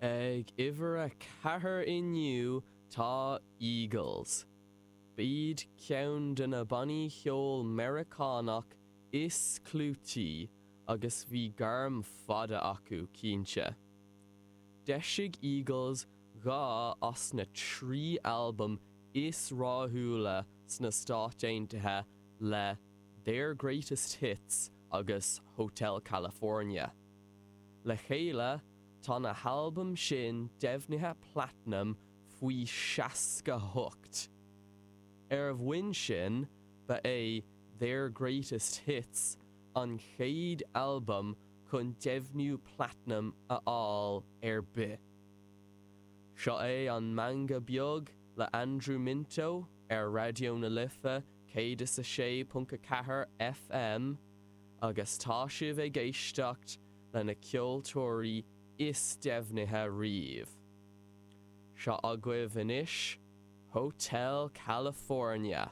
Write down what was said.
Ag uimhir a 4 inniu tá Eagles. B'iad ceann de na bannaí cheoil Meiriceánach is clúití agus bhí gairm fada acu, cinnte. D'eisigh Eagles 2 as na 3 albam is rathúla sna Stáit Aontaithe le Their Greatest Hits agus Hotel California. Le chéile, tá na halbaim sin deimhnithe platnaim faoi 68. Ar a bhonn sin, ba é Their Greatest Hits an chéad albam chun deimhniú platnaim a fháil ar bith. Seo é an Meangadh Beag le Andrew Minto ar Raidió na Life 106.4 FM agus tá sibh ag éisteacht le na ceoltóirí is deimhnithe riamh. Seo agaibh anois Hotel California.